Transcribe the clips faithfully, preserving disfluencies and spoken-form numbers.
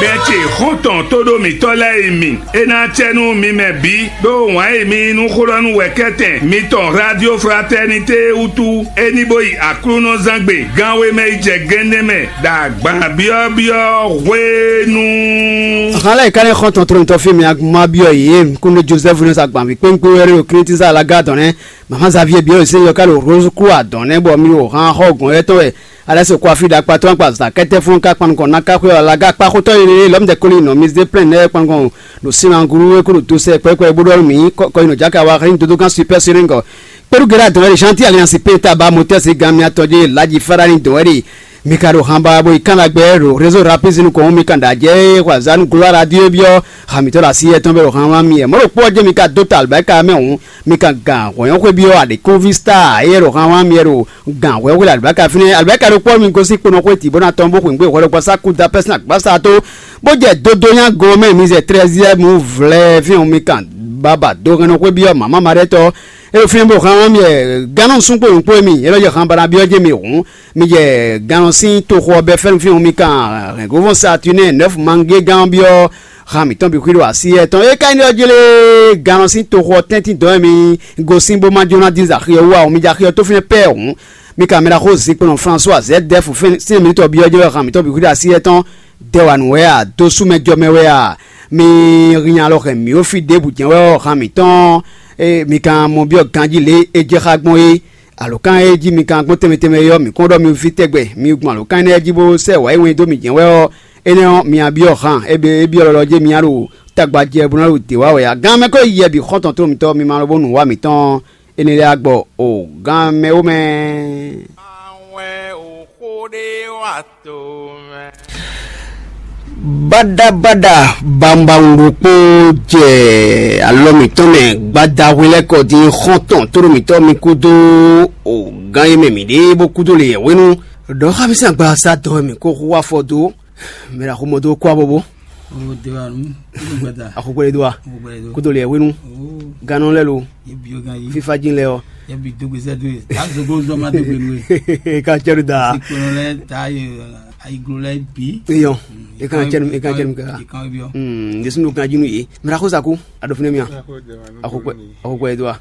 Bɛn ce xɔ́ntɔn tóɖó mǐtɔn lɛ́ɛ e mi, é ná acɛ nú mi mɛ bǐ, ɖó wǎn e mi yí nú xó ɖɔ nú wɛ̌kɛ́tɛn mitɔn Radio Fraternité wútu, é ní bó yi Aklúnɔzángbe gánwé mɛ yi jɛ gɛ́nnɛ́ mɛ ɖo agban byɔ́byɔ́ hwenu. Hǎn lɛ́ɛ ka nɛ́ xɔ́ntɔn tlɔ́nmitɔ́ fí mi aguma byɔ́ yě, kúnnu Jozɛ́fu nɔ sa agbanví kpénkpé wɛ ɖo Klítíza alaga dɔn nɛ́. Mama Xavier byɔ́ yě sín yɔ ká ɖo Rose Croix dɔn nɛ́ bɔ mi ɖo han xɔ gɔ̌n lɛ́ɛ tɔn wɛ. Alɛ́ se kɔ́ afí ɖo akpatɔ́ akpa zǎkɛ́tɛ́ fún ká kpan nukɔn ná ká xwé ɔ́, laga akpá xótɔ́ e lɔ̌mdɛkoli nɔ mi zé plɛ́n nɛ́ kpan nukɔn ɖo sinanguru e kó ɖo dosɛ kpɛ́kpɛ́ bó ɖɔ nú mǐ kɔ́ yi nɔ jáka wá hɛn dodó gán Super Siringo. Kpéɖu Gera dɔn Alixanti Aliansi Peta ba motɛ́si gan miatɔn jɛ laji Farani dɔn wɛ ɖe. Mi ka ɖo han ba bo yi kán ɖagbe ɖo réseau rapide nukɔn mi kan ɖ'ajɛ e xɔ azǎn nú glóa radio byɔ́ ha mǐtɔn ɖo asi yɛtɔn bɛ ɖo han wlán mi yɛ. Mɔ̌ ɖokpó ɔ́ jɛ mi ka dó ta alibáka mɛ hǔn, mi kan gan hwɛ̌nyɔ́xwé byɔ́ aɖěkúnví Star éyɛ́ ɖo han wlán mi yɛ ɖo gan hwɛ̌nyɔ́xwé ɖo alibáka fínɛ́. Alibáka ɖokpó ɔ́ mi gosín kpo nɔ xwé tǐ bó ná tɔ́n bó xweyǐgbe hwɛ ɖokpɔ sá kú da pɛ́sɛn agbása tó, bó jɛ dodó nyá gɔn mɛ mi zɛ trɛ́ziɛ́mu vlɛ́ fínɛ́ mi kan baba dó hɛn nɔ xwé byɔ́ mama ma ɖɛ́ tɔ́. É ɖo fínɛ́ bó han wlán mi yɛ gannú súngbó nǔkpó e mi é nɔ jɛ han bana byɔ́ jɛ mi hǔn, mi jɛ gannɔ sín toxo ɔ́ bɛ́ fɛ́nú fínɛ́ mi kan hɛ̌ngovɔ́n Saturnin nɛ́fu mangé gán ɔ́ byɔ́ han mǐtɔn bǐ xwí ɖo así yɛ́ tɔn. É ka nyí ɖɔ jlé gannɔ sín toxo ɔ́ tɛ́ntin dɔn e mi gosín bó ma jó ná dín zɛ axi ɔ́ wú ǎ, mi jɛ axi ɔ́ tó fínɛ́ pɛ́ hǔn, mi ka mɛ ɖaxó zinkpo nɔ Flasuwa Zɛ́dɛ́fu sín mǐtɔn byɔ́ jɛ wɛ han mǐtɔn bǐ xwí ɖo así yɛ́ tɔn. Dɛwanu wɛ a, dosúmɛjɔmɛ wɛ a, mi hín alɔ hɛn mǐ ó fí ɖěbǔ jɛ́n wɛ ɔ́, han mǐtɔn e mi ka mɔ byɔ́ ganjí lě e jɛ xá gbɔn é. Alǒkan e jí mi ka gbɔn tɛnmɛ tɛnmɛ é ɔ́, mǐ kɔn ɖɔ mi ví tɛgbɛ, mi gbɔn alǒkan énɛ́ jí bó sɛ́ wǎ e wɛn dó mǐ jɛ́n wɛ ɔ́, énɛ́ ɔ́, mi byɔ́ han égbé é byɔ́ lɔlɔ jɛ mi á ɖo tagba jɛ bó ná ɖo dě wá wɛ ǎ. Gan mɛ ko yɛ bǐ xɔ́ntɔn tlóló mitɔn, mi ma lɔ bó nǔ wa mǐtɔn énɛ́ lɛ́ɛ á gbɔ o gan mɛ ó mɛ. Awɛn o xó ɖé wa to mɛ. Baɖabaɖa bawunbawun ɖokpó jɛ alɔ mǐtɔn mɛ gbadahwe lɛ́ɛ kɔ dín xɔ́ntɔn tóɖo mǐtɔn mi kúdó o gán e mɛ mǐ ɖe bó kúdó le yɛ̌hwenu. Ɖɔ xá mì sín agbaza dɔn wɛ mǐ ko hu afɔ dó mɛ ɖo axomɔ dó kó abɔbɔ. O de wa nu, o gbada. Axokpɛlɛ dó wa. O gbada dó. Kúdó le yɛ̌hwenu. O. Gannɔ lɛ́ɛ lo. Ye bi o gan yi. Fífá jí lɛ ɔ. Ye bi dógbé sɛ dógbé. Ta zogo zɔn ma dógbé nu ye. Kan cɛ ɖo da. Sikpɔnɔ lɛ ta ye. Ayiglo lɛ bi. Eyɔn. E kan cɛ nu, e kan cɛ nu kaka. E kan bi ɔ. Hmm, Jesu nu kan jinu ye. Mira ko saku. Ado fune mia. Akokwe, akokwe do a.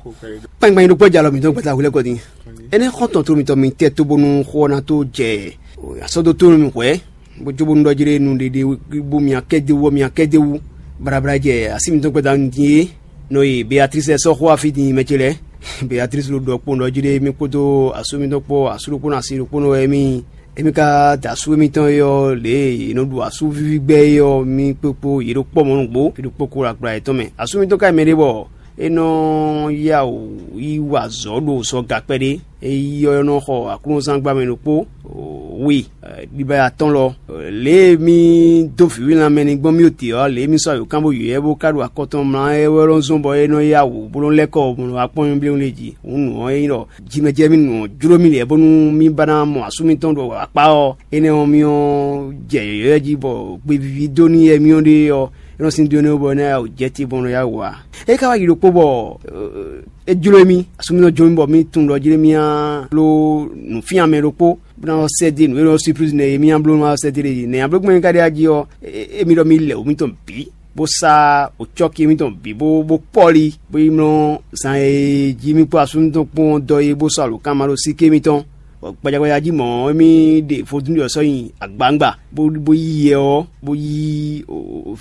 Kpɛngbɛn do kpɔ jalɔ mi dɔn gbɛta wulɛ kɔ din. Ene xɔntɔn to mi tɔ mi tɛ to bonu xɔ na to jɛ. Asɔdo to mi hwɛ. Bo jo bonu dɔ jere nu ɖeɖe bo mia kɛde wɔ mia kɛde wu. Brabra jɛ asi mi dɔn gbɛta nu din ye. Nɔ ye Beatrice sɔ xɔ afi din mɛ ce lɛ. Beatrice lo dɔ kpɔn dɔ jere mi kpódó asu mi dɔn kpɔ asu ɖokpó na asi ɖokpó nɔ wɛ mi. Emi ka da asú émítɔn é ɔ́, lě e è nɔ ɖu asú víví gbɛ́ é ɔ́, mì kpokpo yě ɖo kpɔ́ mɔ̌ nǔgbó, fí ɖokpó kó ɖo agbla yětɔn mɛ. Asú mitɔn ka nyí mɛɖé bɔ é nɔ yá wǔ yi wa azɔ̌ ɖo sɔga kpɛɖé. É yi ɔ́ nɔ xɔ aklúnɔzán gbá mɛ ɖokpó wi ɖibaya tɔn lɔ. Lě e mì dó vǐví lanmɛ ní gbɔn mì ɖo te ɔ́, lě e mì sɔ́ ayǒkán bó yǒ ɛ bó ka ɖo akɔ tɔn mlá ɛ wɛ lɔn zɔn bɔ é nɔ yá wǔ bó nɔ lɛ́ kɔ bó nɔ wá kpɔ́n nyi bléwún lě jí. Hǔn nǔ ɔ́ é nyí ɖɔ jimɛjɛ mi nǔ ɔ́ jló mì lɛ́ɛ bónú mì ba ná mɔ asú mitɔn ɖo akpá ɔ́, énɛ́ ɔ́, mì ɔ́ jɛ yɔ̌yɔ́ jí bɔ gbevíví dó n'i yɛ mì ɔ́ ɖe ɔ́, é nɔ sín dó énɛ́ bɔ é ná ya wǔ jɛ te bɔ é nɔ ya wǔ ǎ. É ka wá yi ɖokpó bɔ é jló mì, asú mitɔn jló mì bɔ mì tunwun ɖɔ jlé mì á bló nǔfían mɛ ɖokpó bó ná sɛ́ dó nǔ e nɔ surprise nɛ e mì á bló ná sɛ́ dó ɖe jí. Nɛ̌ nya bló gbɔn é ka ɖe ají ɔ́, émí ɖɔ mì lɛ wǔ mitɔn bǐ. Bó sá òcɔ́ki émítɔn bǐ bó bó kpɔ́li bó yi mlɔ́ zan e jí mì kpó asú mitɔn kpɔ́n dɔ é bó sɔ́ alǒkanmaɖósíké mitɔn. Bɔ gbajagbaja jí mɔ̌, émí ɖe vodún ɖě ɔ́ sɔ́ nyi agbawungba, bó bó yí yɛ ɔ́, bó yí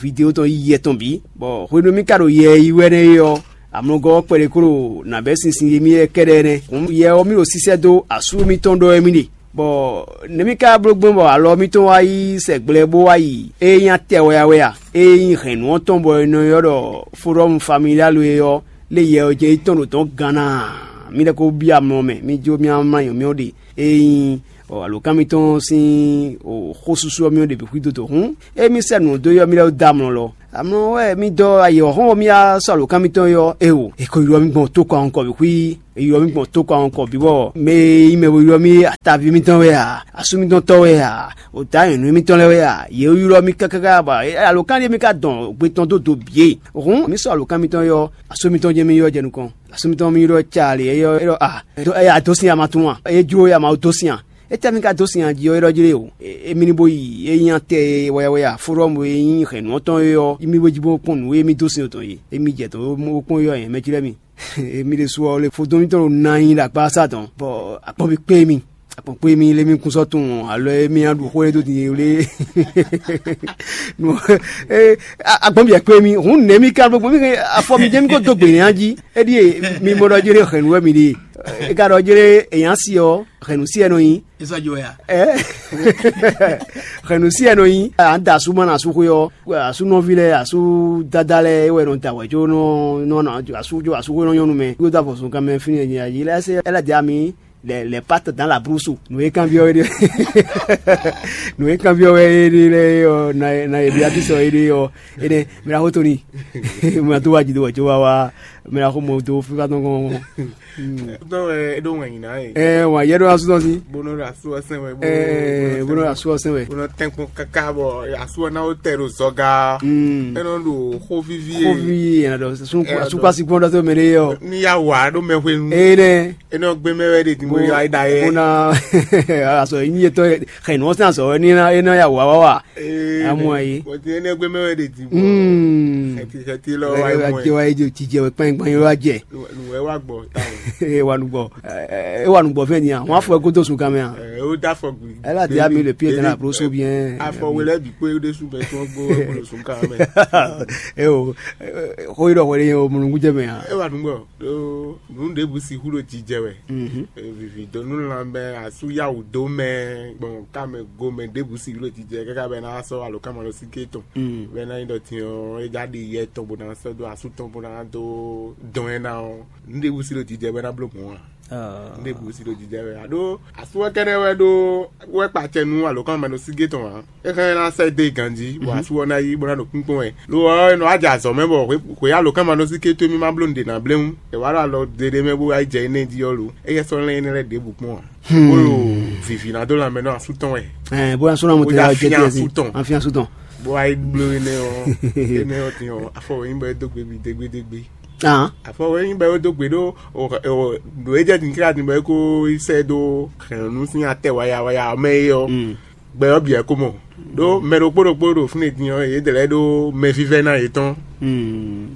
vidéo tɔn yí yɛ tɔn bǐ. Bɔ hwenu e mì ka ɖo yɛ yi wɛ nɛ́ é ɔ́, amlɔgɔ́ ɔ́ kpɛɖé kó ɖo nǎ bɛ́ sinsin e mì yɛ kɛ́ɖɛ́ nɛ́. Hǔn yɛ ɔ́, mì ɖo sísɛ́ dó asú mitɔn ɖɔ wɛ mì ɖe. Bɔ nɛ̌ mì ka bló gbɔn bɔ alɔ mitɔn wá yi sɛgblɛ bó wá yi ée nyí atɛ wɛ a wɛ a? Ée nyí hɛ̌nnu ɔ́ tɔn bɔ è nɔ ylɔ́ ɖɔ Forum Familial é ɔ́, lé yɛ ɔ́ jɛ yi tɔn ɖo dɔ̌n ganna a? Mi lɛ́ ko byɔ́ amlɔ mɛ, mi jó mì amlɔ nyɔ̌myɔ ɖe. Ée nyí alǒkan mitɔn sín xósúsú ɔ́ mì ɖe bǐ xwído dó hǔn, ée mi sɛ nǔ dó yɔ mi lɛ́ dó amlɔ lɔ. Amlɔ wɛ mi dɔ ayǐ ɔ́ xɔ́n bɔ mi wá sɔ́ alǒkan mitɔn é ɔ́, éeǒ, è ko ylɔ́ mi gbɔn tó kɔn kɔ bǐ xwí. È ylɔ́ mi gbɔn tó kɔn kɔ bǐ bɔ mɛ e nyí mɛ bo ylɔ́ mi ataví mitɔn wɛ a, asú mitɔn tɔ́ wɛ a, òtá nyɔ̌nu mitɔn lɛ́ɛ wɛ a, yě ylɔ́ mi káká bɔ alǒkan ɖé mi ka dɔn gbe tɔn dó do bǐ é. Hǔn mi sɔ́ alǒkan mitɔn é ɔ́, asú mitɔn jɛ́n mi ylɔ́ jɛ nukɔn. Asú mitɔn mi ylɔ́ ca lě é ɔ́, é ɖɔ a, é dó sin ama tún a, é jló ya ma dó sin a. Étɛ́ mi ka dó sin ají ɔ́ é ɖɔ jlé o? Émí ní bó yi é nyí atɛ e wɛyawɛya fóɖɔ́mu e nyí hɛ̌nnu ɔ́ tɔn é ɔ́, émí bó jí bó kpɔ́n nǔ e émí dó sin tɔn é. Émí jɛ dɔ̌n bó kpɔ́n é ɔ́, nyɛ mɛ jí lɛ́ɛ mi. Émí ɖésú ɔ́, lé fodún mitɔn ɖo ná nyi ɖo akpá sa tɔn, bɔ akpɔ́n bí kpé mi. Akpɔ́n kpé mi lé mi kún sɔ́ tunwun alɔ émí á ɖu xó e dó din é wlé. Nú akpɔ́n bí kpé mi hǔn nɛ̌ mi ka ɖo gbɔn mi afɔ mi jẹ́ mi ko dó gbe nɛ́ jí. É ɖíe mi mɔ ɖɔ jlé hɛ̌nnu wɛ mi ɖe. É ka ɖɔ jlé èyǎ si ɔ́, hɛ̌nnu si ɛ nɔ nyi. Esɔjɔ ya. Ɛ hɛnnu si ɛ nɔ nyi. An da asú ma na asú xwé ɔ́, asú nɔví lɛ, asú dada lɛ é wɛ nɔ da wɛ, jó nɔ nɔ na asú jó asú xwé nɔ nyɔnu mɛ yó da vɔ zɔn kan mɛ fini nya yi lɛ se ɛ lɛ dia mi. Les pattes dans la brousse. Nǔ e kanbyɔ́ wɛ ɖe nǔ e kanbyɔ́ wɛ é ɖe lɛ ɔ na na e bia ti sɔ é ɖe ɔ. Énɛ́ mɛ na xó tóni. Mɛ na tó wá jǐ dó wɛ jó wá wá. Mɛ na xó mɔ dó fífá tɔn kɔn. Tɔn wɛ é ɖó wɛn nyina e. Ɛ wà yɛ ɖó asú tɔn sí. Bónú ɖo asú ɔsɛn wɛ. Ɛ bónú asú ɔsɛn wɛ. Bónú tɛnkpɔn kaka bɔ asú ɔná wó tɛ ɖo zɔga. Ɛ nɔ ɖo xó vivi e. Xó vivi e yɛn ɖɔ asú kpasi gbɔn ɖɔ tó mɛ ɖe yɔ. Ní ya wà ɖó mɛ hwenu. Ɛ nɛ. É nɔ gbé mɛ wɛ ɖe dìgbò yɔ ayi da yɛ. Bónú asɔ nyí etɔ xɛ nù ɔsɛn asɔ ní ná é nɔ ya wà wá wà. Amú ayi. Bɔtí é nɔ gbé mɛ wɛ ɖe dìgbò. Xɛti xɛti lɔ wá yi mɔ ɛ. Wá yi jijɛ wɛ kpɛn kpɛn yɔ wá jɛ. Nùwẹ́ wá gbọ́ táwọn. É wà nùgbọ́. É wà nùgbọ́ fẹ́ ni a wọ́n á fọ ẹ kó tó sùn kan mɛ a. Ẹ ó dá fọ gbì. Ẹ bá di ami le pied dans la brosse ou bien. Afọwé lẹ bi pé ó dé sùn bẹ tí wọ́n gbó ẹ kó lọ sùn kan mẹ. É o. Xó yi ɖɔ xɔ ɖe yẹn o mùnúkú jẹ mɛ a. É wà nùgbọ́. Ɖó nǔ ɖěbǔ sixú ɖo jijɛ wɛ. Vivi dó nú lanmɛ asú yáwǔ dó mɛ gbɔn kámɛ gomɛ ɖěbǔ sixú ɖo jijɛ káká bɛ ná sɔ́ alǒkanmaɖósíké tɔn. Bɛ ná nyí ɖɔ din ɔ́ é já ɖi yɛ tɔn bó ná sɔ́ dó asú tɔn bó ná dó dɔn ɛ ná ɔ́, nǔ ɖěbǔ sí ɖo jijɛ bɛ ná bló gbɔn a. Nǔ ɖěbǔ sí ɖo jijɛ wɛ aɖó asú ɔ́ kɛ́ɖɛ́ wɛ ɖó wɛ kpa acɛ nú alǒkanmaɖósíké tɔn ǎ. É hɛn ná sɛ́ dó ganjí bɔ asú ɔ́ ná yí bó ná ɖo kpínkpɔ́n wɛ. Lo ɔ́, è nɔ wá jɛ azɔ̌ mɛ bɔ hwe alǒkanmaɖósíké towe mì ma bló nǔɖé ná bléwún. È wá ɖo alɔ ɖeɖe mɛ bó wá yi jɛ énɛ́ jí ɔ́ lo, éyɛ́ sɔ́ lɛ́n énɛ́ lɛ́ɛ ɖěbǔ kpɔ́n ǎ. Bó ɖo vǐví ná dó lanmɛ nɔ asú tɔn wɛ. Bó ná sɔ́ ná mo Bó jɛ já wá jɛ fín tiɛ asú sí tɔn. Afin asú tɔn. Bó wá yi bló énɛ́ ɔ́ énɛ́ ɔ́ din ɔ́ afɔ wɛ nyí bɔ é dó gbe bǐ dégbédégbé. Ahán. Afɔ wɛ nyí bɔ é dó gbe ɖó ɖo é jɛ din kíkà din bɔ é kó yi sɛ dó hɛ̌nnu sín atɛ wayawaya ɔ́ mɛ é ɔ́. Gbɛ ɔ́ bǐ wɛ ko mɔ. Ɖó mɛ ɖokpó ɖokpó ɖo fínɛ́ din ɔ́, yě dlɛ̌ ɖó mɛvívɛ́ná yětɔn,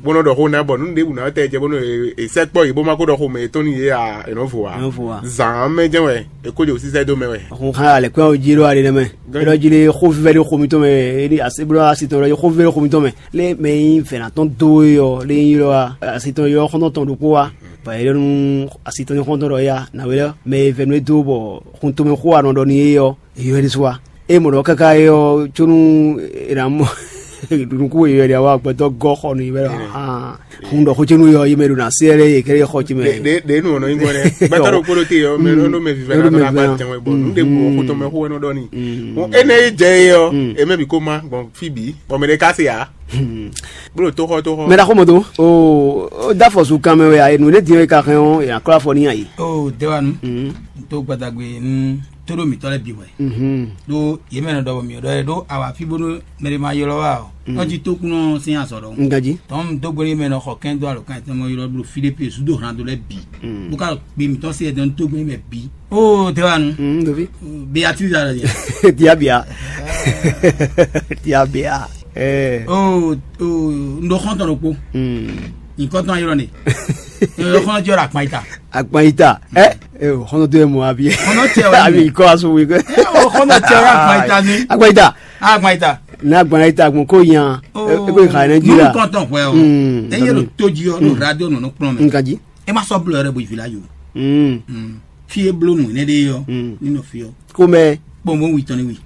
bó nɔ́ ɖɔ xó ná bɔ nǔ ɖěbǔ ná tɛ jɛ bónú è sɛkpɔ́ yě bó má kó ɖɔ xomɛ yětɔn nú yě ǎ, è nɔ́ vo ǎ. È nɔ́ vo ǎ. Zǎn ɔ́ mɛ jɛ́n wɛ è kó jǒ sísɛ́ dó mɛ wɛ. Hun xá alɛ̌kpɛ́n ɔ́ jí ɖó aɖe nɛ́ mɛ. Gán- Ɖɔ jí ɖé xó vívɛ́ ɖé xo mitɔn mɛ, é ɖi así bló así tɔn ɖɔ jí xó vívɛ́ ɖé xo mitɔn mɛ. Lé mɛ e nyí vɛ̌natɔ́n dó é ɔ́, lé nyí ɖɔ wá, así tɔn ylɔ́ xɔ́ntɔn tɔn ɖokpó wá. Bɔ è ɖɔ nú así tɔn nyí xɔ́ntɔn ɖɔ éyá, nǎwe lɛ́ɛ mɛ e vɛ̌ nú é dó bɔ xun tomɛ xó wa nɔ ɖɔ nú é ɔ́, è ylɔ́ ɛ ɖésú wá. É mɔ ɖɔ káká é ɔ́, có nú è nǎ mɔ nukún e è ɖe awa gbɛtɔ́ gɔ́ xɔ nú yě wɛ ɖɔ hǎn. Hun ɖɔ xó có nú yɔ yě mɛ ɖo ná se lɛ́ɛ yě kɛɖɛ́ xɔ ce mɛ. Ɖě ɖě nu ɔ̀nà nyí gbɔn dɛ gbɛtɔ́ ɖokpó ɖo te ɔ́ mɛ ɖo mɛ vivɛ Ɖo ɖo mɛ vivɛ ɖo agba tɛn wɛ bɔ nu ɖe bu xó tɔn mɛ xó wɛ nɔ ɖɔ ni. Bon énɛ́ yi jɛ é ɔ́, è mɛ bǐ kó má gbɔn fí bǐ bɔ mɛ ɖé ká se ǎ. Bó ɖo tóxɔ tóxɔ. Mɛ ɖaxó mɔ tó o o da fɔ su kan mɛ wɛ a, nǔ ɖé din ɔ́, è ka hɛn ɔ́, è nǎ klɔ́ afɔ n'i a yi. O dewanu, n tó gbadagbe n tó ɖo mǐtɔn lɛ́ɛ bǐ hwɛ. Ɖó yě mɛ nɔ ɖɔ bɔ mǐ ɖɔ ɖó awa fí bónú mɛ ɖé ma ylɔ́ wá ɔ́, nɔ jí tókúnɔ sín azɔ̌ ɖɔhun. Un ganjí. Tɔn dó gbé mɛ nɔ xɔ kɛn dó alɔkán tɔn mɔ ylɔ́ bló fí ɖé pé zúdo hlan dó lɛ́ɛ bǐ. Bó ka gbe mǐtɔn sí ɛdɔn tó gbé mɛ bǐ. O dewanu, Mm, dovi. Beatrice alɔ yɛ. Diabia. Diabia. Eh. O o n ɖo xɔntɔn ɖokpó. Mm. Nyikɔtɔn ayɔrɔ ne. N ɖo xɔntɔn jɔ ɖo akpan yi ta. Akpan yi ta. Eh. Eh, o xɔntɔn tó yɛ mɔ abi. Xɔntɔn tɛ wɛ. Abi kɔ asu wi kɔ. Eh, o xɔntɔn tɛ wɛ akpan yi ta ni. Akpan yi ta. Akpan yi ta. Na akpan yi ta kun ko yan. E ko xa ne ji la. Kɔntɔn hwɛ o. Mm. Eye ɖo tó ji ɔ ɖo radio nɔnɔ kplɔn mɛ. Nka ji. E ma sɔ blɔ yɛrɛ bo yi vila yo. Mm. Fi e bló nǔ énɛ́ ɖe ɔ́, ní nɔ fi ɔ́. Xomɛ. Kpɔnbɔn wi tɔn ní wi.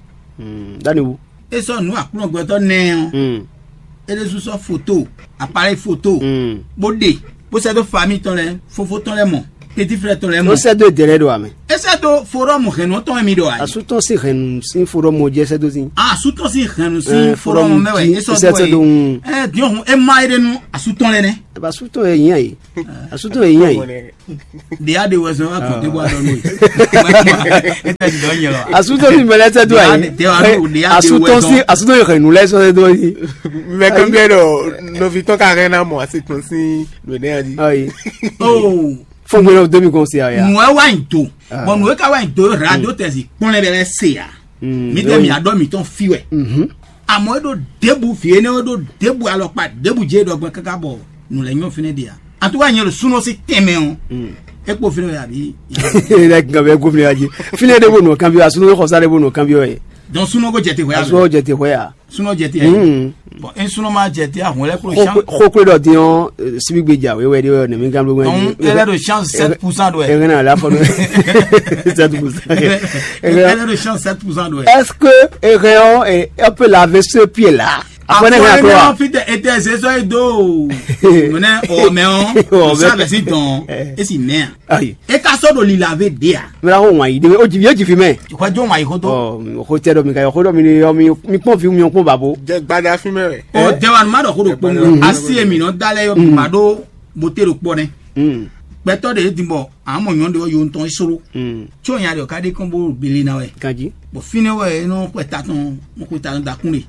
Dani wu. E sɔ nǔ aklúnɔgbɛtɔ́ nɛ ɔ́, e ɖésú sɔ́ foto, appareil foto, bó ɖe, bó sɛ́ dó famille tɔn lɛ́ɛ, fofó tɔn lɛ́ɛ mɔ, petit frère tɔn lɛ́ɛ mɔ. Ó sɛ́ dó èdè lɛ́ɛ ɖo ame. E sɛ́ dó forum hɛnnu tɔn mi ɖɔ ayi. Asutɔn sín hɛnnu sín forum jẹ́ sɛ́ dó sín. Asutɔn sín hɛnnu sín forum mɛ wɛ e sɔ dó wɛ. Ɛ diɔhun e ma e ɖe nu asutɔn lɛ nɛ. Asutɔn yɛ yɛn ye. Asutɔn yɛ yɛn ye. Ɖe aɖe wɛ sɔ akɔnte bɔ aɖɔ nui. Asutɔn si mɛlɛ sɛ do ayi. Asutɔn si asutɔn yɛ xɛ nu lɛ sɔ do ayi. Mɛ kan bɛ ɖɔ nɔvi tɔn ka hɛn na mɔ asi tɔn si lo ne adi. Ayi. Oh. Fɔ́n gbé lɔ dó mi kɔn se aya. Nǔ wɛ wá nyi do. Bɔn nǔ e ka wá nyi do e radio tɛnzi kpɔn lɛ bɛ se ya. Mi tɛ mi adɔ mitɔn fi wɛ. Àmọ́ e ɖo debu fi énɛ́, e ɖo debu alɔkpa debu jɛ ɖɔgbɛ kaka bɔ nǔ lɛ nyɔ fínɛ ɖe ya. Atuka nyɛ ɖo súnɔ sí tɛnmɛ o. E kpo fínɛ wɛ abi. Ila gan bɛ gomle aji. Fínɛ ɖe bo nɔ kanbi wa súnɔ xɔsa ɖe bo nɔ kanbi wɛ. Donc súnɔ ko jɛ te hwɛ ya. Súnɔ jɛ te hwɛ ya. Súnɔ jɛ te ya. Bon, e súnɔ ma jɛ te ahun lɛ klo chance. Xokwe ɖɔ din ɔ, sibi gbe ja wɛ wɛ de wɛ ne mi gan blo wɛ. Donc elle est de chance sept pour cent do. E na la fɔ. Sept pour cent. Elle est de chance sept pour cent do. Est-ce que e hɛn ɔ, e peut laver ce pied là? Après ne hɛn akɔ wa. Fite ete zezɔ e do. Mene o mɛ o. O sa bɛ si dɔn. E si mɛ. Ayi. E ka sɔ ɖo lila ve ɖe a? Mira ko wan yi ɖe o jivi e jivi mɛ. Xɔ jo wan yi xo to. Ɔ xo tɛ ɖɔ mi ka yɔ xo ɖɔ mi ni yɔ mi mi kpɔn vi mi kpɔn babo. Jɛ gbada fi mɛ wɛ. Ɔ jɛwanu ma ɖɔ xo ɖo kpɔn mi asi e mi nɔ da lɛ yɔ ma ɖo bote ɖo kpɔ nɛ. Gbɛtɔ ɖe e din bɔ amɔ nyɔ ɖe yɔ ntɔn e soro. Tso nya ɖe o ka ɖe kɔn bo bili na wɛ. Kanji. Bɔ fine wɛ e nɔ xɔ ta tɔn mo xɔ ta tɔn da kun ɖe.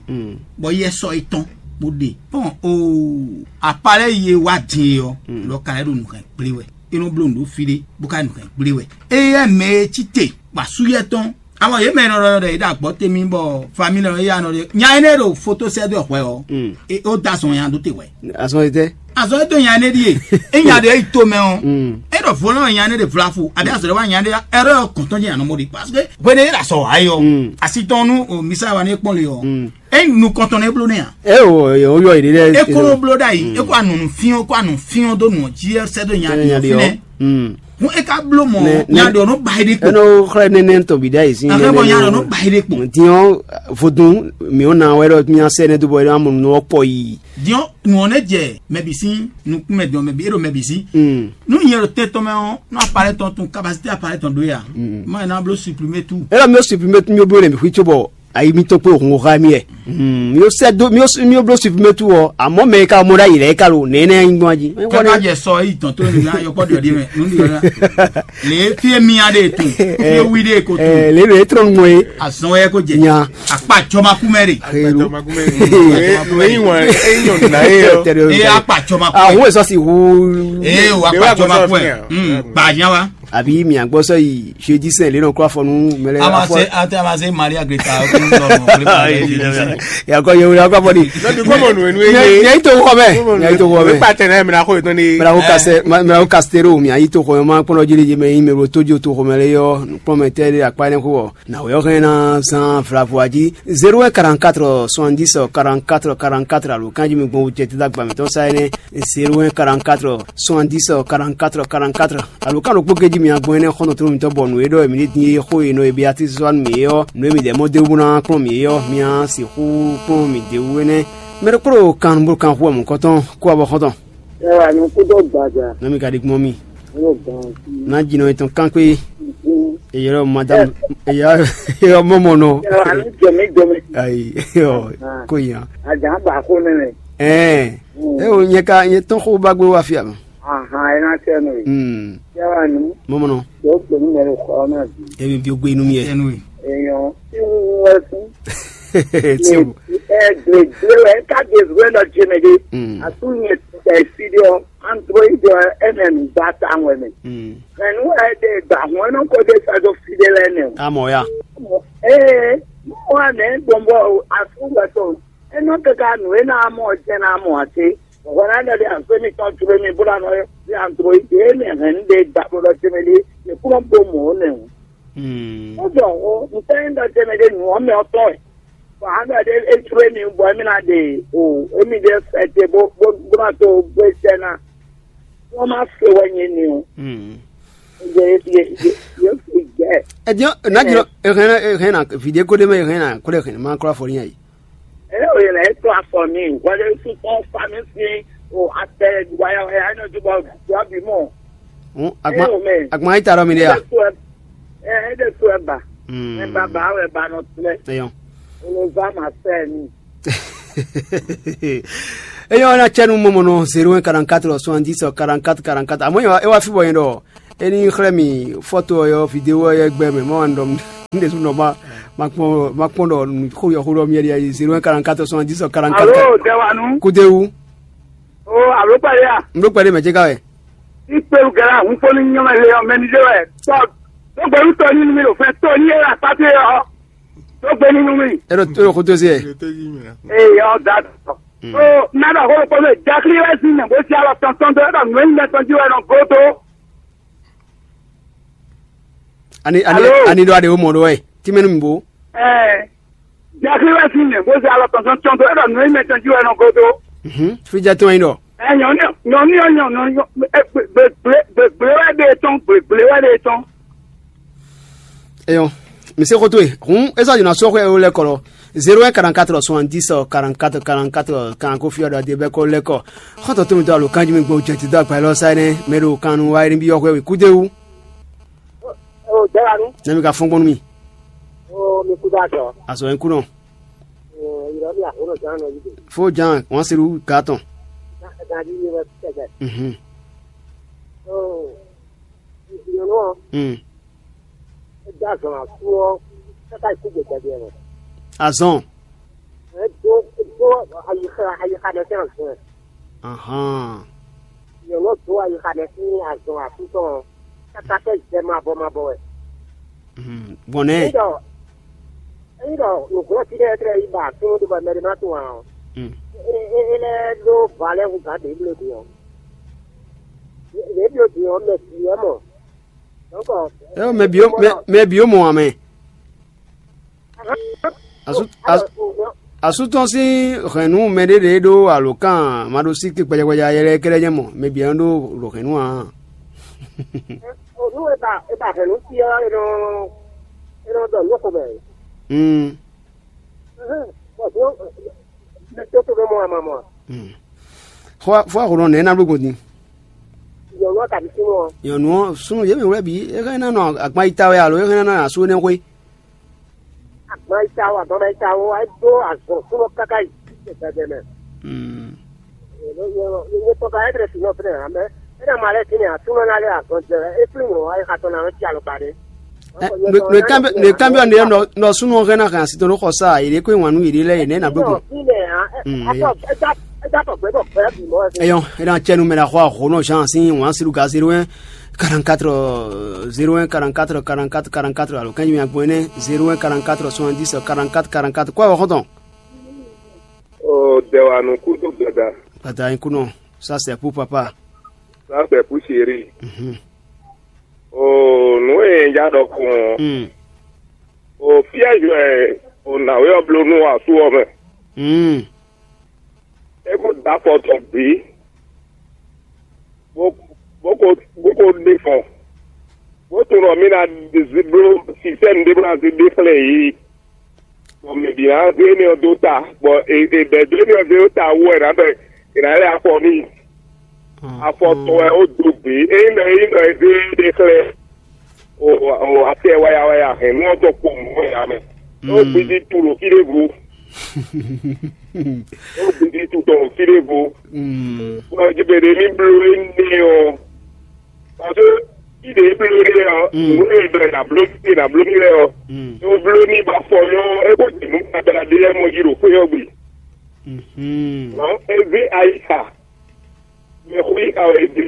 Bɔ yɛ sɔ e tɔn bo ɖe. Pɔn o apalɛ ye wa din yɔ lɔ ka lɛ ɖo nukɛn kple wɛ. E nɔ blo nǔɖó fi ɖé bó ka nukɛn gblé wɛ. Éyɛ́ mɛ e cí te kpa súyɛ́ tɔn. Amɔ yě mɛ e nɔ ɖɔ ɖɔ yě ɖo agbɔ̌ te mì bɔ famílɛ ɔ́ yá nɔ ɖe nya énɛ́ ɖo foto sɛ́ dó hwɛ ɔ́, é ó dó azɔn nya dó te hwɛ. Azɔn e tɛ́? Azɔn e dó nya énɛ́ ɖíe. É nya ɖě yi to mɛ ɔ́, é ɖɔ vo lɔn nya énɛ́ ɖe vlafu abǐ azɔ̌ ɖé wá nya énɛ́ ɖe ɛrɛ ɔ́ kɔn tɔn jɛ anɔ mɔ ɖi parce que hwenu e é ɖo azɔ̌ wa é ɔ́, asi tɔn nú misa wa ní kpɔ́n le ɔ́, é nukɔn tɔn nɛ bló nɛ a? É o, o yɔ yě ɖe. É kó nɔ bló ɖ'ayǐ, é kó anɔ nǔ fyɔ́n, kó anɔ fyɔ́n dó nǔ ɔ́ jí, é sɛ́ dó nya ɖě ɔ́ fínɛ́. Hǔn é ka bló mɔ nya ɖě ɔ́ nɔ ba yi ɖe kpo. Nɔ xlɛ́ nɛnɛ tɔn bǐ ɖ'ayǐ sín. Ahɛn bɔ nya ɖě ɔ́ nɔ ba yi ɖe kpo. Din ɔ́, vodún mǐ ɔ́ ná wɛ ɖɔ mía sɛ́ nɛ́ dó bɔ é ná mɔ nǔ ɔ́ kpɔ yi. Din ɔ́, nǔ ɔ́ nɛ́ jɛ mɛbǐ sín nukún mɛ din ɔ́, mɛbǐ é ɖo mɛbǐ sín. Nú nyɛ ɖo tɛn tɔn mɛ ɔ́, nú apalɛ tɔn tun kapasité apalɛ tɔn ɖó ya, má ná bló supprimer tout. É ɖɔ mí ó supprimer tout, mí ó bló nɛ mǐ xwí cóbɔ ayi mitɔn kpó hun xá mì wɛ. Mi ó sɛ́ dó mi ó mi ó bló supprimer tout ɔ́, àmọ́ mɛ e ka mɔ ɖ'ayǐ lɛ́ɛ ka ɖo nɛ̌ nɛ́ nyí gbɔn jí. Kaka jɛ sɔ eyi tɔn tó nínú ayɔkpɔ ɖiɔ ɖi mɛ nú ɖiɔ ɖa. Lě fie mia ɖe tun, fie wi ɖe ko tun. Lě mɛ e trɔ́n gbɔn é. Azɔn wɛ ko jɛ. Nya. Akpa jɔmakumɛ ɖe. Eyi wan eyi nyɔnu na ye yɔ. Eye akpa jɔmakumɛ. Ahu esɔ si hu. Eye wa akpa jɔmakumɛ. Gba nya wa. Àbí mi àgbọ́sọ yìí jeudi saint lè nọ kó afọ nú mẹlẹ. Amase ate amase maria greta. Yakɔ yewu yakɔ afɔ di. Nɔbi kɔmɔ nu enu eye. Yẹyi to xɔ mɛ. Yẹyi to xɔ mɛ. Kpa tɛ n'a ye mìíràn kó yetɔn ni. Mìíràn kó kasɛ mìíràn kó kasitero mi ayi to xɔ mɛ ma kpɔnɔ jeli jeme yi mɛ ro tójú to xɔ mɛ lɛ yɔ kpɔn mɛ tɛ de akpa ne kó wɔ. Na wòyɔ hɛn na zan vlavo aji zéro un quarante-quatre soixante-dix quarante-quatre quarante-quatre alo kanji mi gbɔn wujɛ tita gba mìtɔn sa ɛnɛ zéro un quarante-quatre soixante-dix quarante-quatre quarante-quatre. Alo kan ɖokpó keji mi agbɔn ɛnɛ xɔnɔ tro mitɔ bɔ nǔ e ɖɔ mi ní din e xó e nɔ e be ati zɔn mi ɔ nǔ e mi dɛ mɔ de wuna kplɔn mi ɔ mi a sixú kplɔn mi de wú ɛnɛ. Mɛ ɖokpó ɖo kan bó kan xú ɔmɔ kɔtɔn kó abɔ xɔtɔn. Ẹ wà ní kúndó gbàjà. Nami ka di gbɔn mi. Ní o gbọ́n sí. Na jinɔ etɔn kan kpé. Eyɔrɔ madam eyɔrɔ mɔmɔ nɔ. Ẹ wà ní jọmí jọmí. Ayi yɔ ko yan. Àjà ń bà kó nílẹ̀. Ɛɛ e o nyɛ ka nyɛ tɔn xó ba gbé wá fia ma. Ahan, ẹ náà tẹ́ nù. Hmm. Ẹ wà ní. Mɔmɔ nɔ. Yóò pè ní mẹ́rin kọ́ náà bí. Ebi bi o gbé inú mi yɛ. Èèyàn tí wọ́n wọ́n fún. Tí o. Ẹ gbègbè rẹ̀ ká gbègbè lọ jẹ mẹ́rin. Hmm. Àtúnyẹ tẹ̀ sí dé ọ. Android ɔ ɛnɛ nu gba ta ŋwɛ mɛ. Mɛ nu wɛ de gba hɔn nɔ ko de sa do fi de lɛ nɛ o. Amɔ ya. Ee, mo wa nɛ gbɔn bɔ asu wɛ tɔ. Enɔ keka nu e na mɔ jɛ na mɔ ase. Wɔ na dɛ de aso mi tɔn ture mi bla nɔ de android e mɛ hɛn de gba bo lɔ tɛmɛ de e kúrɔ bo mɔ o nɛ o. Ó dɔn o ntɛ ń dɔ tɛmɛ de nu ɔmɛ ɔtɔ ɛ. Bɔn an dɔ de e ture mi bɔ emi na de o emi de fɛ te bo bo bo na to bo sɛ na. Wọ́n máa fẹ́ wá yẹn ni o. Ǹjẹ́ yóò fi jẹ́ ẹ̀? Ẹ jẹ́ ẹ náà jùlọ ẹ hẹ́n ẹ hẹ́n na fìdí kó dé mẹ́ ẹ hẹ́n na kó dé hẹ́n máa kúrò àfọ̀rí yẹn yìí. Ẹ ò yẹ ẹ tó afọ mi wọlé fún fún fami sí o àtẹ wáyà wáyà ẹ náà túbọ̀ wá bí mọ̀. Àgbọn ayé tààrọ mi dé yà. Ẹ ẹ dẹ tó ẹ bà ẹ bà bà ẹ bà nọ tilẹ̀. Ẹyọ. Olùbá màá fẹ́ mi. Eyɔ na cɛnu mɔmɔ nɔ zéro un quarante-quatre soixante-dix quarante-quatre quarante-quatre. Àmọ́ yẹn e wá fi bɔ yẹn dɔ. Eni xlɛ mi foto yɔ vidéo yɛ gbɛ mɛ mɔ an dɔm. N de su nɔ ma ma kpɔn ma kpɔn dɔ xo yɔ xo dɔ mi yɛ zéro un quarante-quatre soixante-dix quarante-quatre. Alo, Dewanu. Kudewu. O, alo kpɛlɛ ya. N do kpɛlɛ mɛ jɛ ka wɛ. Ní kpéwú gɛlá hun fó ní nyɔ́mɛ le ɔ́, mɛ ní ɖé wɛ. Tɔ tó gbé nú tɔ ní nú mì ɖo fɛn tó ní é ɖo akpá towe ɔ́, tó gbé ní nú mì. É ɖo é ɖo xótó zé ɛ. Ee, ɔ́ da tɔ. Ó ná ɖɔ xó kpó mɛ jaklí wɛ sín mɛ bó sí alɔ tɔntɔn dó é ɖɔ nǔ e nyí mɛ tɔn jí wɛ nɔ gó dó. Ani ani Alo? Ani ɖɔ aɖe wo mɔ ɖo wɛ. Tí mɛ nú mi bo. Ɛɛ, jaklí wɛ sín mɛ bó sí alɔ tɔntɔn tɔn dó é ɖɔ nǔ e nyí mɛ tɔn jí wɛ nɔ gó dó. Mhm. Fí jɛ tɔn yi ɖɔ. Ɛ nyɔ̌nu nyɔ̌nu ɔ́ nyɔ̌nu gbegblé gbegblé wɛ ɖe tɔn gbegblé wɛ ɖe tɔn. Eyɔn, mi se xótó e hǔn é sɔ́ jǐ ná sú xwé éwo lɛ́ɛ kɔ lɔ zéro un quarante-quatre soixante-dix quarante-quatre quarante-quatre kan ko fí ɔ́ ɖɔ adé bɛ́ kɔ lɛ́ kɔ. Xɔ́ntɔn tó mi dó alo kanjí mi gbɔn jɛ ti dó agba élɔ́ sá énɛ́ mɛ ɖo kan nu wá énɛ́ byɔ́ xwé wěkú dé wú. O dɛwanu. Nɛ mi ka fɔ́n gbɔn nú mi. O mi kú dá jɔ. Azɔ yín kú nɔ. O yìrɔ mi àhónɔ ján nɔ yí de. Fó ján wọ́n se ɖu gǎ tɔn. Gán yí mi wɛ kɛjɛ. Mhm. O nyɔnu ɔ. Mm. É dó azɔn asú ɔ́ káká yi kú gbɛgbɛ ɖe mɛ. Azɔn. É dó é dó ayixa ayixa ɖe sín azɔn ɛ. Ahán. Nyɔnu ɔ́ dó ayixa ɖe sín azɔn asú tɔn ɔ́ káká sɛ́ zɛ mabɔ mabɔ wɛ. Mhm. Gbɔn nɛ́. Ényí ɖɔ ényí ɖɔ nǔglɔ́ fí ɖé tlɛ yi ba súnnu ɖé bɔ mɛ ɖé má tunwun ǎ ɔ́, Mm. é é é lɛ́ ɖó va lɛ́ hú gǎn ɖě bló din ɔ́. Ɖě bló din ɔ́, mɛ bǐ wɛ mɔ. Dɔ̌nkɔ É mɛ bǐ ó mɛ mɛ bǐ ó mɔ ǎ mɛ. Asú asú asú tɔn sín hɛ̌nnu mɛ ɖé ɖě ɖó alǒkan maɖósíké gbɛjɛgbɛjɛ ayɛlɛ kɛ́ɖɛ́ nyɛ mɔ mɛ bǐ ɔ́ ɖó ɖo hɛ̌nnu ǎ. Nú e ba e ba hɛ̌nnu fí ɔ́, é nɔ é nɔ ɖɔ nǔ xo mɛ. Mm. Bɔ dó mɛ tó tó mɛ mɔ ama mɔ. Mm. Fɔ fɔ xo nɔ nɛ na bló gbɔn din. Nyɔnu ɔ́ kabi súnnu ɔ́. Nyɔnu ɔ́ súnnu yě mɛ wlɛ́ bǐ é hɛn ná nɔ agban yi ta wɛ alo é hɛn ná nɔ asú énɛ́ xwé. Agban yi ta wɛ agban yi ta wɛ é dó azɔ̌ súnnu káká yi gbɛgbɛ mɛ. Mm. Nyɛ tɔn ka ɛdrɛ si nɔ fɛnɛ amɛ. É ná ma lɛ kí ni asúnɔ ná lɛ azɔn jɛ é flí ŋlɔ ayé xatɔn ná nɔ cí alɔkpa ɖé. Nǔkanbyɔ́ nǔkanbyɔ́ nɖe nɔ nɔ súnnu hɛn ná hɛn asi tɔn ɖó xɔ sá yě ɖé kó wǎn nú yěɖée lɛ́ɛ yě nɛ́ ná bló gbɔn. Eyɔn é ná cɛ nú mɛ ɖo axɔ ahǒnɔ Jean sín wǎn sílú ga zéro un quarante-quatre zéro un quarante-quatre quarante-quatre quarante-quatre alo kɛ́nyi mi agbɔn énɛ́ zéro un quarante-quatre soixante-dix quarante-quatre quarante-quatre kó awɔ xɔ́ntɔn. O dɛwanu kúdó gbada. Gbada yín kúnɔ. Ça c'est pour papa. Ça c'est pour chéri. Mhm. O nǔ e un ja ɖɔ kɔn. Mm. O piège wɛ o nǎwe ɔ́ bló nú asú ɔ́ mɛ. Mm. É kó dó afɔ tɔn bǐ. Bó bó ko bó ko ɖe fɔn. Bó tunwun ɖɔ mí ná bló sistɛ́ɛmu ɖé bó ná zé ɖe xlɛ́ yě. Bɔ mɛ bǐ ná zé énɛ́ ɔ́ dó ta, bɔ è è bɛ̌ dó énɛ́ ɔ́ zé dó ta wú wɛ è nǎ ɖɔ è nǎ lɛ́ afɔ n'i. Afɔ tɔn wɛ ó dó gbě. Ényí ɖɔ ényí ɖɔ è zé ɖe xlɛ́ o o atɛ waya waya hɛn nú ɔ́ tɔn kpowun nú wɛ ǎ mɛ. Ó gbidi tu ɖo fí ɖěvo. Ó gbidi tu tɔn ɖo fí ɖěvo. Bɔ è jɛ bɛ ɖě ní bló énɛ́ ɔ́. Parce que fí ɖě bló ɖe ɔ́, nǔ e ɖɔ è nǎ bló é nǎ bló mì lɛ́ɛ ɔ́, é bló ní ba fɔ nyɔ́ é ko jɛ nǔ gbadala ɖé lɛ́ɛ mɔ jí ɖo xwé ɔ́ gbe. Nɔ̌ é zé ayixa, mɛxó yixa wɛ é zé,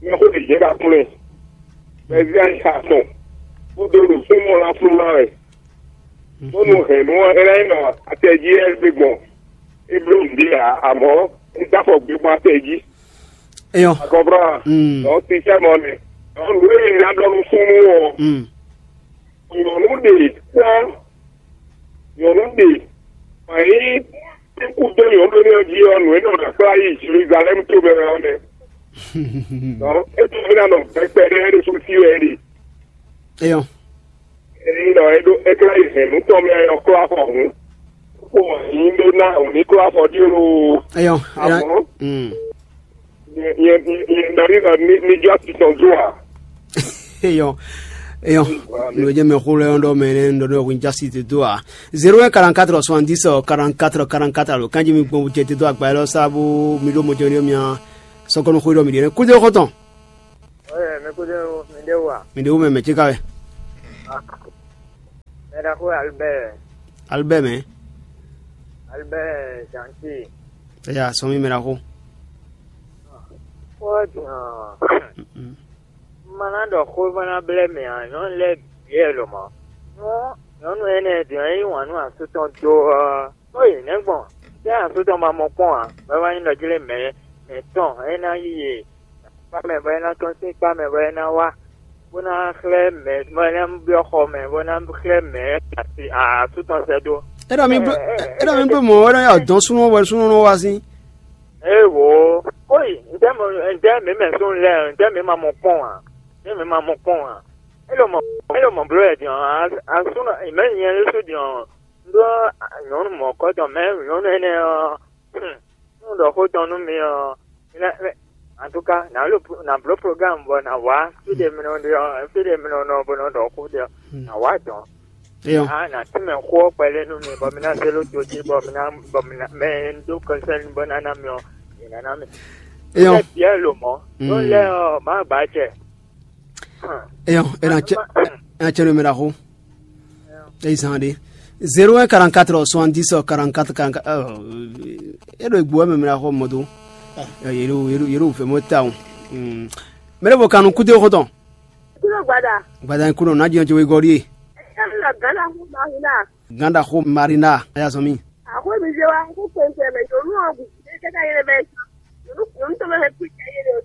mɛxó ɖě jɛ́n ba kplɔ́n ɛ, bɔ é zé ayixa tɔn, bó dó ɖo súnmọ́ ɔ́ ná fló ná wɛ. Bónú hɛ̌nnu ɔ́, é ná nyí nɔ atɛ jí wɛ é gbé gbɔn. É bló nǔɖé ǎ, amɔ̌ é dó afɔ gbé gbɔn atɛ jí. Eyɔn. Akɔnflán. Mm. Dɔn sísɛ́ mɔ nɛ. Dɔn nǔ e ná ɖɔ nú súnnu ɔ́, Mm. nyɔ̌nu ɖe kpɔ́n. Nyɔ̌nu ɖe ma nyí kú dó nyɔ̌nu énɛ́ ɔ́ jí ɔ́, nǔ e nɔ ɖɔ kplá yi Jeluzalɛ́mu to mɛ ɔ́ nɛ́. Dɔn é to mí ná nɔ gbɛkpɛ ɖé é ɖo sú sí wɛ é ɖe. Eyɔn. Ényí ɖɔ é ɖó é klɛ́ yi hɛ̌nnu tɔn mɛ ɔ́ klɔ́ afɔ hǔn, kó wǎn yí ɖó ná wǔ ní klɔ́ afɔ ɖíe loo. Eyɔn. Amɔ̌, Mm. nyɛ nyɛ nyɛ nyɛ nɔ ɖi nɔ ní ní jɔ asi tɔn dó ǎ. Eyɔn. Eyɔn. Nǔ e jɛ mɛ xó lɛ́ɛ ɖɔ mɛ nɛ́ ɖɔ ɖɔ wín jasi te dó a. Zéro un quarante-quatre soixante-dix quarante-quatre quarante-quatre alo kanjí mi gbɔn wú jɛ te dó agba élɔ́ sá bó mi ɖó mɔjɛ́ ɖé mia sɔkɔnɔ xó ɖɔ mi ɖe nɛ́ kúdé xɔtɔn. Oye, mi kúdé o, mi ɖe wa. Mi ɖe wú mɛ mɛ tsi ka wɛ. Mɛ ɖaxó Albert. Albert mɛ. Albert Gentil. Eya sɔmi mɛ ɖaxó. Xó ɔ́ din ɔ́, un ma ná ɖɔ xó bó ná blɛ́ mɛ ǎ, nyɔ̌nu lɛ́ɛ bǐ wɛ lɔmɔ̌. Nú nyɔ̌nu énɛ́ din ɔ́, é yí wǎn nú asú tɔn dó ɔ́, bó yi nɛ̌ gbɔn? Tɛ́ asú tɔn ma mɔ kpɔ́n ǎ, bɔ é wá nyí ɖɔ jí lé mɛ mɛ̌tɔn é ná yí yě kpá mɛ bɔ é ná tɔ́n sín kpá mɛ bɔ é ná wá, bó ná xlɛ́ mɛ bɔ é ná byɔ́ xɔ mɛ bó ná xlɛ́ mɛ asi asú tɔn sɛ́ dó. É ɖɔ mi bló, é ɖɔ mi bló mɔ̌ wɛ nɔ ya dɔn súnnu wɛ súnnu nɔ wá sín. Ée wǒ, kóyi, ntɛ́ mɔ ntɛ́ mǐ mɛ súnnu lɛ́ɛ, ntɛ́ mǐ ma mɔ kpɔ́n ǎ, ntɛ́ mǐ ma mɔ kpɔ́n ǎ. É ɖo mɔ é ɖo mɔ bló wɛ din ɔ́, asúnɔ mɛ̌ nyɛ ɖésú din ɔ́, un ɖó nyɔ̌nu mɔ̌kɔ́tɔn mɛ nyɔ̌nu énɛ́ ɔ́, nú un ɖɔ xó tɔn nú mi ɔ́, mi ná antúká nǎ bló programme bɔ nǎ wá fí ɖe mi nɔ ɖe ɔ́, fí ɖe mi nɔ nɔ bó nɔ ɖɔ xó ɖe ɔ́, nǎ wá dɔn. Eyɔn. A nǎ tínmɛ xó ɔ́ kpɛɖé nú mi bɔ mi ná zé ɖó to jí bɔ mi ná bɔ mi ná mɛ e un ɖó kɔnsɛ́n bɔ ná ná mi ɔ́, è nǎ ná mi. Eyɔn. Éyɛ́ biɛ lo mɔ. Ɖó lɛ́ɛ ɔ́, má gbǎ jɛ. Eyɔn, é ná cɛ é ná cɛ nú mɛ ɖaxó. É zan ɖé. Zéro un quarante-quatre soixante-dix quarante-quatre quarante-quatre. É ɖo egbo wɛ mɛ mɛ ɖaxó mɔ dó. Yě ɖo yě ɖo yě ɖo fɛ mɔ tawun. Mɛ ɖé bɔ kanu kúdé xɔtɔn. Kúnɔ gbada. Gbada kúnɔ ná jẹun jẹ wegɔɖi e. Ẹ ká mi lọ gán ná fún Marina. Gán ɖaxó Marina, a yá zɔn mì. Àkó mi jẹ wá kó kpɛnkpɛn mɛ nyɔnu ɔ́ gùn kúdé kẹta yẹn mɛ. Nyɔnu nyɔnu tó mɛ hɛ kú jẹ yé ɖe o.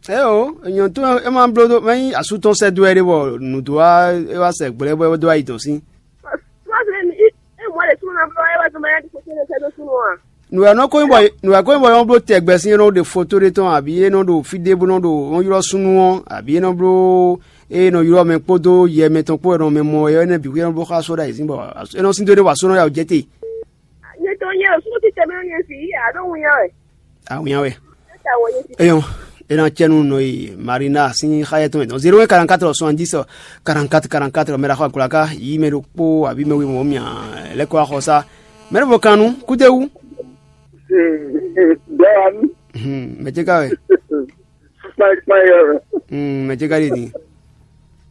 Ɛ o, nyɔnu tó ɛ ma bló dó mɛ nyí asú tɔn sɛ dó ɛ ɖé bɔ nǔ dó wá é wá sɛ gblɛ bɔ é dó ayi tɔn sín. Wá sɛ mi é mɔ lè súnmọ́ náà bọ́ ẹ wá tó mɛ yá tó kó tó lè sɛ dó súnmọ́ wa. Nǔ wɛ nɔ ko nyí bɔ nǔ wɛ ko nyí bɔ é nɔ bló tɛgbɛ sín é nɔ ɖe foto ɖé tɔn abǐ é nɔ ɖo fí ɖé bó nɔ ɖo nɔ ylɔ́ súnnu ɔ́ abǐ é nɔ bló é nɔ ylɔ́ mɛ kpódó yɛ mɛ tɔn kpó wɛ nɔ mɛ mɔ é nɔ bǐ xwé é nɔ bló xá só ɖo ayǐzín bɔ é nɔ sín dó ɖé bɔ asó nɔ ya wǔ jɛ te. Nyɛ tɔn nyɛ o súnnu títɛ mɛ nyɛ si yí àɖó wun yá wɛ. Awunya wɛ. Ata wɔ yé ti. Eyɔn, é ná cɛ nú nɔ e Marina sín xá yɛ tɔn mɛ dɔn zéro un quarante-quatre soixante-dix quarante-quatre quarante-quatre mɛ ɖaxɔ agbla ká yí mɛ ɖokpó abǐ mɛ we mɔ mia lɛ́ kɔ axɔ sá. Mɛ ɖé bɔ kan nú kúdéwú. Dɔwanu. Mɛ ce ká wɛ. Kpákpá yɔ. Mɛ ce ká ɖe din.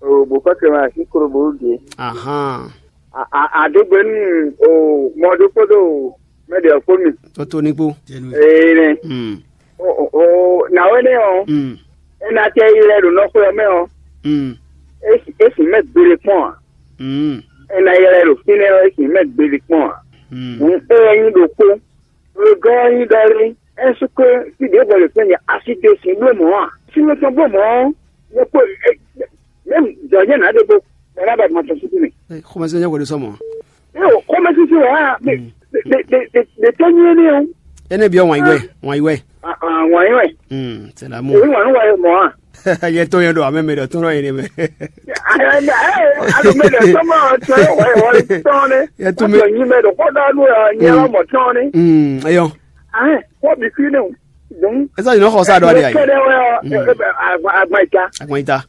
O bò pɛkɛ ma sí korobo ge. Ahan. Aɖegbenu o mɔ ɖokpó ɖo mɛ ɖe ɔkpó mi. Tɔtɔ ní kpó. Ee nɛ. Mm. O o o nàwé nɛ ɔ. Mm. Ena tɛ yi lɛ ɖo nɔxɔ yɔ mɛ ɔ. Mm. Esi esi mɛ gbele kpɔn a. Mm. Ena yi lɛ ɖo fínɛ ɔ esi mɛ gbele kpɔn a. Mm. Hǔn eye nyi ɖokpó. Wegɔ́ ɔ́ nyí ɖɔ lé? Ɛ́súkwe fí ɖěbǔ wɛ lě kpɛ́n nyɛ asi dó sin bló mɔ̌ a? Sin nɔ tɔn bló mɔ̌ ɔ́, nyɛ kpó mɛ̌m jɔ̌ nyɛ nǎ ɖe kpó bɔ é ná ba gbɔn tɔn súkú mɛ. Xɔmɛsɛn nyɛ hwɛɖó sɔmɔ. Ée o xɔmɛsísí wɛ á ɖe tɔ́ nyí énɛ́ o. Énɛ́ byɔ́ wǎn yí wɛ, wǎn yí wɛ. Wǎn yí wɛ. Sɛlámù. Èyí wà ní wáyé mɔ̌ a? Yɛ tó yẹn ɖo amɛ mɛ ɖɔ tó nɔ yẹn mɛ. Alo mɛ ɖɔ tó mɔ tɔ yɛ wáyé wáyé tɔn ne. Yɛ tó mɛ. Tɔ nyi mɛ ɖɔ kó ɖɔ nú yɛ wá mɔ tɔn ne. Eyɔ. Ahɛn kó bi fi ne o. Donc. Esa yìí nɔ xɔ sa dɔ adi ayi. Kɛdɛ wɛ ɔ agba ita. Agba ita.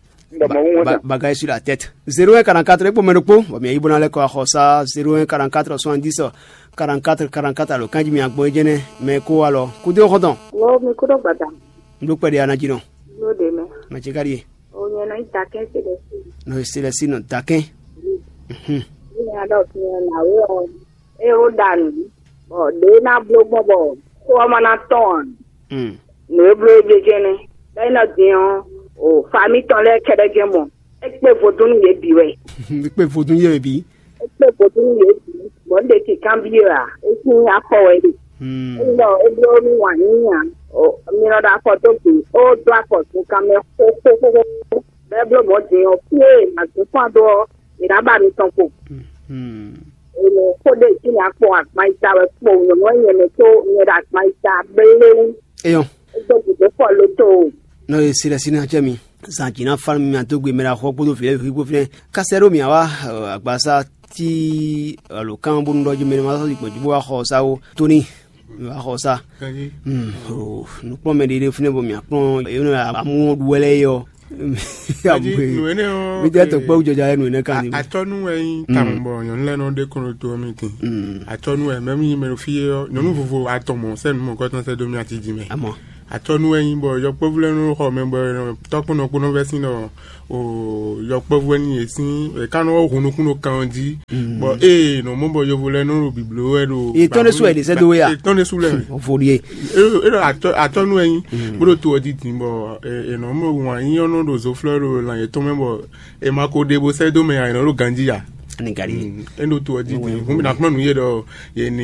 Baga est sur la tête. Zéro un quarante-quatre ekpo mɛ ɖokpo bɔ mɛ yibɔ na lɛ kɔ axɔ sa zéro un quarante-quatre soixante-dix quarante-quatre quarante-quatre alo kanji mi agbɔn jɛnɛ mɛ ko alɔ kudo xɔtɔn. Wo mi kudo gbada. N ɖo kpɛɖe anajinɔ. N ɖo ɖe mɛ. Mɛ ce ka ɖi ye. O nyɛ nɔ yi dakɛn se ɖe si. Nɔ se ɖe si nɔ dakɛn. Mhm. Ni a ɖɔ fi hàn na wo ɔ. E wo ɖa nǔ bɔ ɖě ná bló gbɔn bɔ xó ɔ́ ma ná tɔn ǎ. Nǔ e bló é jɛjɛ nɛ́. Bɔ é nɔ din ɔ́, o fami tɔn lɛ́ɛ kɛ́ɖɛ́ jɛ́n mɔ. É kpé vodún nú yě bǐ wɛ. Kpé vodún yé bǐ. É kpé vodún nú yě bǐ. Bɔ un ɖe kǐnkanbyɔ́ ǎ. É sín afɔ wɛ ɖe. Ényí ɖɔ é bló nú wǎn yíyí ǎ, mi nɔ ɖo afɔ dó gbe, ó dó afɔ zunkan mɛ xóxóxóxó. Bɔ é bló mɔ̌ din ɔ́, fí e è nǎ zún fán dó ɔ́, è nǎ ba mi tɔn kpo. Ènɔ xó ɖé jí nǎ kpɔn agban yi ta wɛ kpo nyɔ̌nu wɛ nyɛ mɛ tó nyɛ ɖo agban yi ta bléwú. Eyɔn. É dó gǔdo fɔ lo tó o. Nɔ e si lɛ si ná cɛ mi. Zan jǐ ná fán mi adó gbe mɛ ɖo axɔ kpódó vǐ lɛ́ɛ bǐ kpó fínɛ́. Kásɛ ɖó mǐ wá agbaza tí alo kán bónú ɖɔ jí mɛ ma sɔ́ yi gbɔn jí bó wá xɔ sa ó. Tóní mi wá xɔ sa. Nǔkplɔ́nmɛ ɖé ɖé fínɛ́ bɔ mǐ akplɔ́n é nɔ amú ɖu wɛ lɛ́ɛ yɔ. Mi tɛ tɔkpɛ wujɔja yɛ nǔ énɛ́ kan ní. Atɔnu wɛ nyí tamɔ bɔ nyɔnu lɛ nɔ ɖe kɔnɔ to mi tin. Atɔnu wɛ mɛ mi nyí mɛ ɖo fí yɛ nyɔnu vovo atɔmɔ sɛ numɔ kɔtɔn sɛ domi ati jí mɛ. Amɔ. Atɔ́nú wɛ nyí bɔ yɔkpɔ́vú lɛ́ɛ nɔ xɔ mɛ bɔ tɔ́kpɔ́nɔ kpó nɔ vɛ́ sín ɖɔ o yɔkpɔ́vú wɛ nyí yě sín è ká nɔ hun nukún ɖo kan ɔ́ jí, bɔ ée nɔ mɔ bɔ yovo lɛ́ɛ nɔ ɖo bǐbló wɛ ɖo Yě tɔn ɖésú wɛ ɖě sɛ́ dó we a? Yě tɔn ɖésú lɛ́ɛ. Voli e. É ɖo atɔ́nú wɛ nyí bó ɖo to ɔ́ jí din bɔ è nɔ mɔ wǎn nyí ɔ́ nɔ ɖo zoflɔ́ ɖo lan yětɔn mɛ bɔ è ma ko ɖe bó sɛ́ dó mɛ ǎ, è nɔ ɖo ganjí ǎ. Ní gari. É ɖo to ɔ́ jí din hǔn mi ná kplɔ́n nǔ yé ɖɔ yě ní